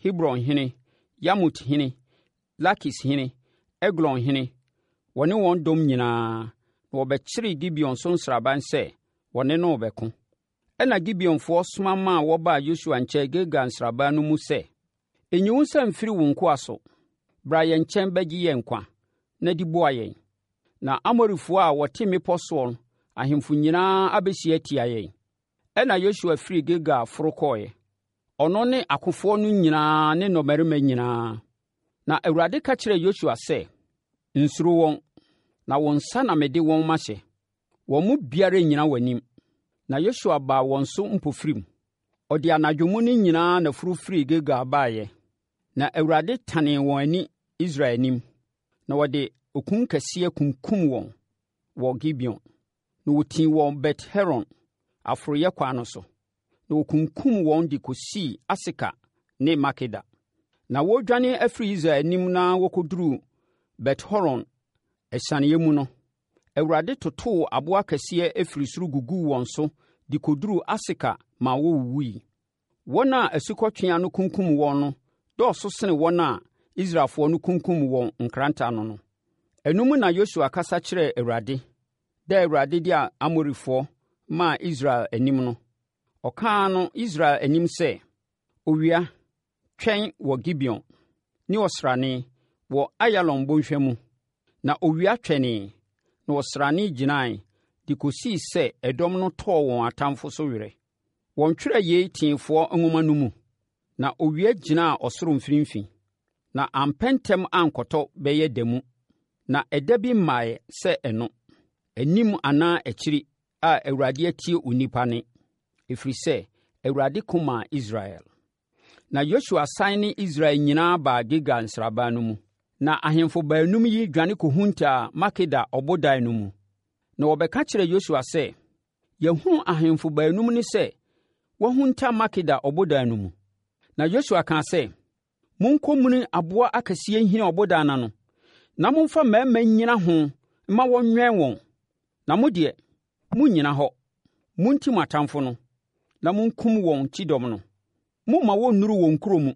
Hebron hene, Yarmut hene, Lakis hene, Eglon hene, wɔne wɔn dɔm nyinaa, na wɔbɛkyeree Gibeon so nsraban sɛ wɔne no rebɛko. Ɛnna Gibeonfoɔ soma maa wɔbaa Yosua nkyɛn Gilgal nsraban no mu sɛ, Nyi wo nsa mfiri wo nkoa so. Bra yɛn nkyɛn bɛgye yɛn nkwa na di boa yɛn. Na Amorifoɔ a wɔte mmepɔ soɔ ahemfo nyinaa abɛhyia atia yɛn. Ɛnna Yosua firii Gilgal foro kɔeɛ, ɔno ne akofoɔ no nyinaa ne nnɔmmarima nyinaa. Na Awurade ka kyerɛɛ Yosua sɛ, Nsuro wɔn, na wo nsa na mede wɔn mahyɛ. Wɔn mu biara rennyina w'anim. Na Yosua baa wɔn so mpofirim. Ɔde anadwo mu no nyinaa na foro firii Gilgal baeɛ. Na Awurade tanee wɔn ani Israel anim, na wɔde okunkɛseɛ kunkum wɔn wɔ Gibeon. Na wɔtii wɔn Bet-Horon aforoeɛ kwan no so, na wɔkunkum wɔn de kɔsii Aseka ne Makeda. Na wɔredwane afiri Israel anim na wɔkɔduruu Bet-Horon asianeeɛ mu no, Awurade totoo aboɔ akɛseɛ firi soro guguu wɔn so de kɔduruu Aseka ma wɔwuwui. Wɔn a asukɔtweaa no kunkum wɔn no dɔɔso sene wɔn a Israelfoɔ no kunkum wɔn nkrantɛ ano no. Ɛno mu na Yosua kasa kyerɛɛ Awurade, da a Awurade de Amorifoɔ maa Israel anim no. Ɔkaa no Israel anim sɛ, Owia, twɛn wɔ Gibeon, ne ɔsrane wɔ Ayalon bɔnhwa mu. Na owia twɛnee, na ɔsrane gyinae de kɔsii sɛ ɛdɔm no tɔɔ wɔn atamfo so werɛ. Wɔntwerɛɛ yei teefoɔ nwoma no mu? Na owia gyinaa ɔsoro mfimfini, na ampɛ ntɛm ankɔtɔ bɛyɛ da mu, na ɛda bi mmaeɛ sɛ ɛno, anim anaa akyiri a Awurade atie onipa nne, ɛfiri sɛ Awurade ko maa Israel. Na Yosua san ne Israel nyinaa baa Gilgal nsraban no mu. Na ahemfo baanum yi dwane kɔhuntaa Makeda ɔbodan no mu. Na wɔbɛka kyerɛɛ Yosua sɛ, Yɛahunu ahemfo baanum no sɛ wɔahunta Makeda ɔbodan no mu. Na Yosua kaa sɛ, Monkɔmuni aboɔ akɛseɛ nhini ɔbodan no ano, na momfa mmarima nnyina ho mma wɔnwɛn wɔn. Na mo deɛ, monnyina hɔ. Monti mo atamfo no, na monkum wɔn kyidɔm no. Mommma wɔnnuru wɔn nkuro mu,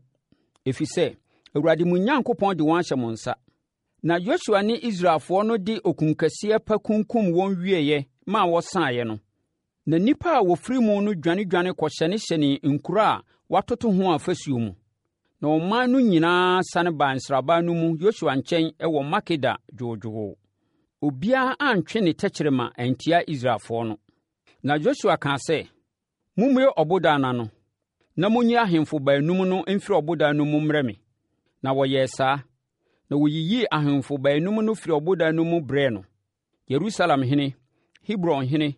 ɛfiri sɛ, Awurade mo Onyankopɔn de wɔn ahyɛ mo nsa. Na Yosua ne Israelfoɔ no de okunkɛseɛ pa kunkum wɔn wieeɛ maa wɔsaeɛ no, na nnipa a wɔfiri mu no dwanedwane kɔhyɛnehyɛnee nkuro a wɔatoto ho afasuo mu. Na ɔman no nyinaa sane baa nsraban no mu Yosua nkyɛn wɔ Makeda dwoodwoo. Obiara antwe ne tɛkyerɛma antia Israelfoɔ no. Na Yosua kaa sɛ, Mommue ɔbodan no ano, na monyi ahemfo baanum no mfiri ɔbodan no mu mmrɛ me. Na wɔyɛɛ saa. Na wɔyiyii ahemfo baanum no firii ɔbodan no mu brɛɛ no, Yerusalem hene, Hebron hene,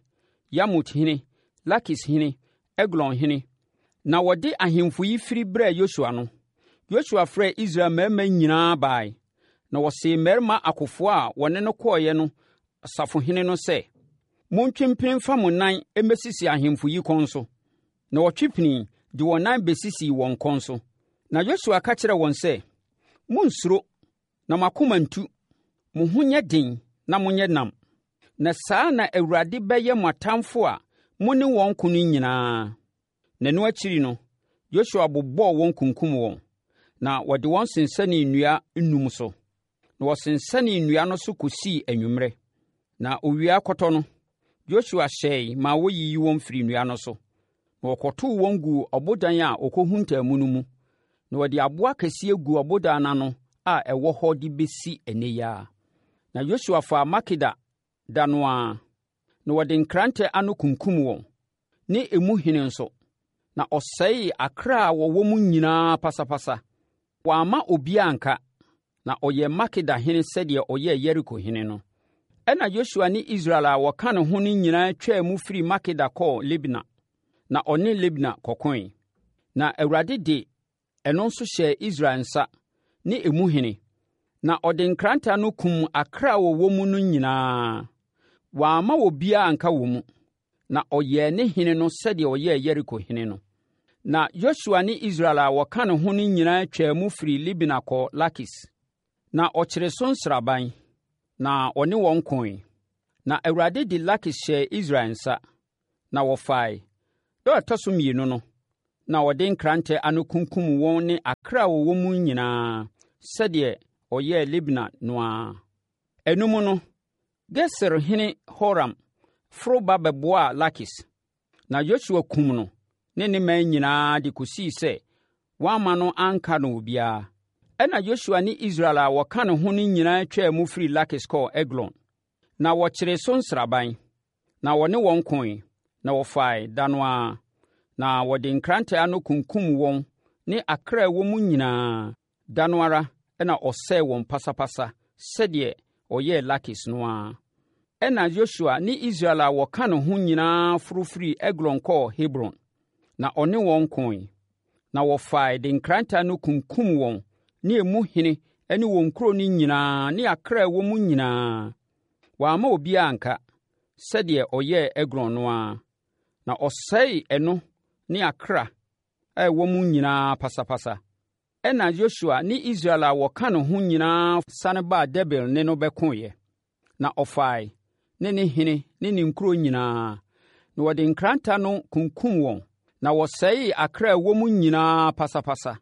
Yarmut hene, Lakis hene, Eglon hene. Na wɔde ahemfo yi firi brɛɛ Yosua no, Yosua frɛɛ Israel mmarima nyinaa bae, na ɔsee mmarima akofoɔ a wɔne no kɔeɛ no safohene no sɛ, Montwe mpini mfa mo nan mmɛsisi ahemfo yi kɔn so. Na wɔtwe pinii de wɔn nan bɛsisii wɔn kɔn so. Na Yosua ka kyerɛɛ wɔn sɛ, Monnsuro, na mo akoma nntu. Mo ho nyɛ den na monyɛ nnam. Na saa na Awurade bɛyɛ mo atamfo a mo ne wɔn ko no nyinaa. Na ɛno akyiri no, Yosua bobɔɔ wɔn kunkum wɔn, na wɔde wɔn sensɛnee nnua nnum so. Na wɔsensɛnee nnua no so kɔsii anwummerɛ. Na owia rekɔtɔ no, Yosua hyɛe maa wɔyiyii wɔn firii nnua no so, na wɔkɔtoo wɔn guu ɔbodan a wɔkɔhuntaa mu no mu. Na wɔde aboɔ akɛseɛ guu ɔbodan no ano a ɛwɔ hɔ de bɛsi ɛnnɛ yi ara. Na Yosua faa Makeda da no ara, na wɔde nkrantɛ ano kunkum wɔn, ne emu hene nso, na ɔsɛee akra a wɔwɔ mu nyinaa pasapasa. Wamma obiara anka, na ɔyɛɛ Makeda hene sɛdeɛ ɔyɛɛ Yeriko hene no. Ɛnna Yosua ne Israel a wɔka ne ho no nyinaa twaa mu firii Makeda kɔɔ Libna, na ɔne Libna kɔkoe. Na Awurade de ɛno nso hyɛɛ Israel nsa ne emu hene, na ɔde nkrantɛ ano kum akra a wɔwɔ mu no nyinaa. Wamma obiara anka wɔ mu, na ɔyɛɛ ne hene no sɛdeɛ ɔyɛɛ Yeriko hene no. Na Yosua ne Israel a wɔka ne ho no nyinaa twaa mu firii Libna kɔɔ Lakis, na ɔkyeree so nsraban, na ɔne wɔn koe. Na Awurade de Lakis hyɛɛ Israel nsa, na wɔfae. Da a ɛtɔ so mmienu no, Na ɔde nkrantɛ ano kunkum wɔn ne akra a wɔwɔ mu nyinaa, sɛdeɛ ɔyɛɛ Libna no ara. Ɛno mu no, Geser hene Horam foro ba bɛboaa Lakis, na Yosua kum no ne ne man nyinaa de kɔsii sɛ wamma no anka no obiara. Ɛnna Yosua ne Israel a wɔka ne ho no nyinaa twaa mu firii Lakis kɔɔ Eglon, na wɔkyeree so nsraban. Na wɔne wɔn koe, na wɔfae da no ara, na wɔde nkrantɛ ano kunkum wɔn ne akra a ɛwɔ mu nyinaa. Da no ara na ɔsɛee wɔn pasapasa sɛdeɛ ɔyɛɛ Lakis no ara. Ɛnna Yosua ne Israel a wɔka ne ho nyinaa foro firii Eglon kɔɔ Hebron, na ɔne wɔn koe. Na wɔfae de nkrantɛ ano kunkum wɔn ne emu hene ne wɔn nkuro no nyinaa ne akra a ɛwɔ mu nyinaa. Wamma obiara anka, sɛdeɛ ɔyɛɛ Eglon no ara, na ɔsɛee ɛno ne akra a ɛwɔ mu nyinaa pasapasa. Ɛnna Yosua ne Israel a wɔka ne ho nyinaa sane baa Debir ne no bɛkoeɛ, na ɔfae ne ne hene ne ne nkuro nyinaa, na wɔde nkrantɛ ano kunkum wɔn, na wɔsɛee akra a ɛwɔ mu nyinaa pasapasa.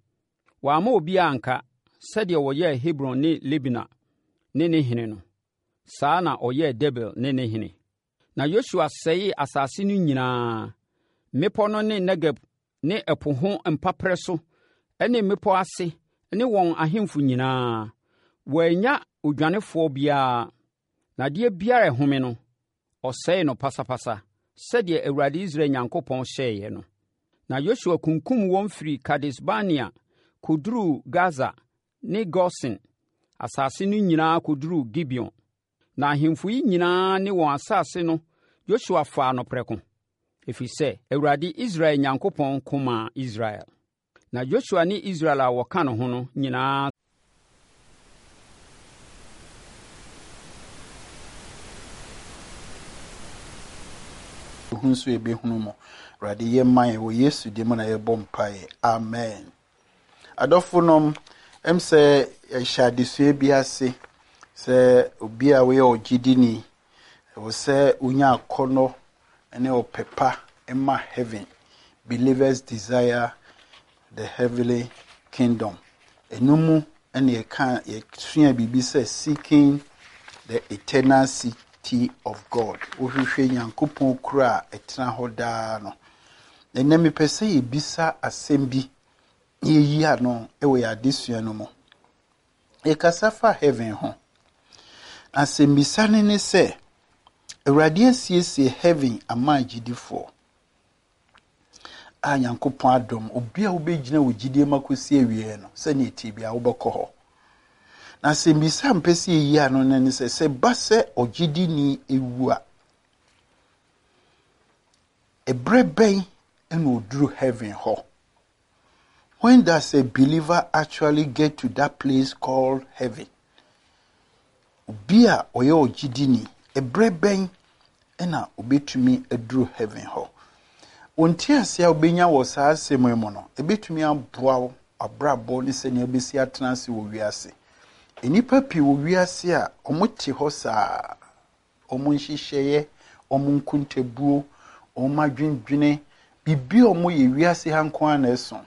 Wamma obiara anka, sɛdeɛ ɔyɛɛ Hebron ne Libna ne ne hene no, saa na ɔyɛɛ Debir ne ne hene. Na Yosua sɛee asase no nyinaa, mmepɔ no ne Negeb ne ɛpo ho mpaperɛ so ne mmepɔ ase ne wɔn ahemfo nyinaa. Wɔannya odwanefoɔ biara, na adeɛ biara a ɛhome no, ɔsɛee no pasapasa, sɛdeɛ Awurade Israel Nyankopɔn hyɛeɛ no. Na Yosua kunkum wɔn firii Kades-Barnea kɔduruu Gasa ne Gosen asase no nyinaa kɔduruu Gibeon. Na ahemfo yi nyinaa ne wɔn asase no Yosua faa no prɛko, ɛfiri sɛ Awurade Israel Nyankopɔn ko maa Israel. Na Yosua ne Israel a wɔka ne ho no nyinaa. Hu nso yɛbɛhunu mo. Awurade yɛ ma yɛn wɔ Yesu din mu na yɛbɔ mpaeɛ. Amen. Adɔfo nom, ɛm sɛ yɛhyɛ adesua bi ase sɛ obi a woyɛ ɔgyidini, ɛwɔ sɛ wonya akɔnnɔ ne ɔpɛ pa ma heaven. Believers desire the heavenly kingdom. Ɛno mu na yɛka yɛsua biribi sɛ seeking the eternal city of God. Wohwehwɛ Nyankopɔn kuro a ɛtena hɔ daa no. Ɛnnɛ mepɛ sɛ yɛbisa asɛm bi na yɛyi ano wɔ yɛn adesua no mu. Yɛkasa fa heaven ho. Asɛmmisa no ne sɛ, Awurade asiesie heaven ama agyidifoɔ a Nyankopɔn adom, obi a wobɛgyina wo gyidie mu akɔsi awieɛ no, sɛnea ɛteɛ biara wobɛkɔ hɔ. Na asɛmmisa a mpɛ sɛ yɛyi ano no ne sɛ, sɛ ba sɛ ɔgyidini ewu a, ɛberɛ bɛn na ɔduru heaven hɔ? When does a believer actually get to that place called heaven? Obi a ɔyɛ ɔgyidini, ɛberɛ bɛn na obetumi aduru heaven hɔ? Wo nteaseɛ a wobɛnya wɔ saa asɛm yi mu no, ɛbɛtumi aboa wo abrabɔ ne sɛnea wobɛsi atena ase wɔ wiase. Nnipa pii wɔ wiase a wɔte hɔ saa. wɔn nhyehyɛeɛ, wɔn nkontabuo, wɔn adwendwene, biribi a wɔyɛ wiase ha nko ara na ɛso.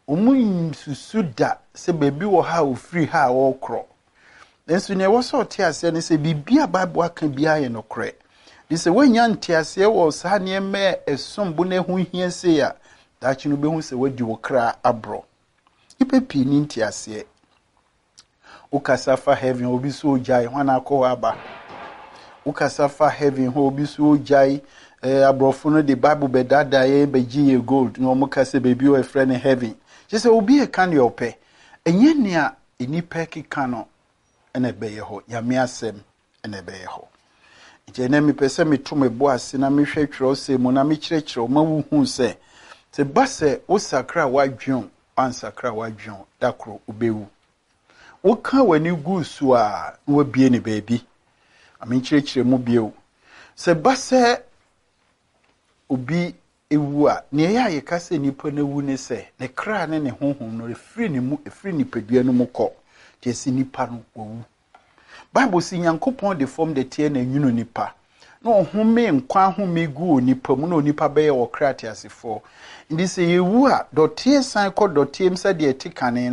Wɔnsusu da sɛ baabi wɔ ha a wɔfiri ha a wɔrekorɔ. Nanso nea ɛwɔ sɛ ɔte aseɛ ne sɛ biribi a Bible aka biara yɛ nokorɛ. De sɛ woanya nteaseɛ wɔ saa nneɛma a ɛsom bo na ɛho hia sei a, daakye no wobɛhu sɛ woadi wo kra aborɔ. Nnipa pii ni nteaseɛ. Wokasa fa heaven obi so ogyae hwan akɔ hɔ aba. Wokasa fa heaven hɔ obi so ogyae eh, aborɔfo no de Bible bɛdaadaa yɛn bɛgye yɛ gold na wɔn ka sɛ baabi wɔ ɛfrɛ no heaven. Kyerɛ sɛ obi ɛka nea ɔpɛ. Ɛnyɛ nea nnipa keka no na ɛbɛyɛ hɔ. Nyame asɛm na ɛbɛyɛ hɔ. Nti ɛnɛ mepɛ sɛ meto me bo ase na mehwɛ twerɛsɛm mu na mekyerɛkyerɛ wo ma wohu sɛ sɛ ba sɛ wosakra w'adwene o, woansakra w'adwene o, da koro wobɛwu. Woka w'ani gu so a na wabie ne baabi. Ma menkyerɛkyerɛ mu bio. Sɛ ba sɛ obi wu a, nea ɛyɛ a yɛka sɛ nipa no awu ne sɛ ne kra ne ne honhom no ɛfiri ne mu, ɛfiri nipadua no mu kɔ. Kyerɛ sɛ nipa no wawu. Bible se Nyankopɔn de fam dɛteɛ na ɛnwunu nipa. na ɔhome nkwa ahome gu onipa mu na onipa bɛyɛ ɔkra teasefoɔ. Nti sɛ yɛwu a, dɔteɛ san kɔ dɔteɛ mu sɛdeɛ ɛte kane.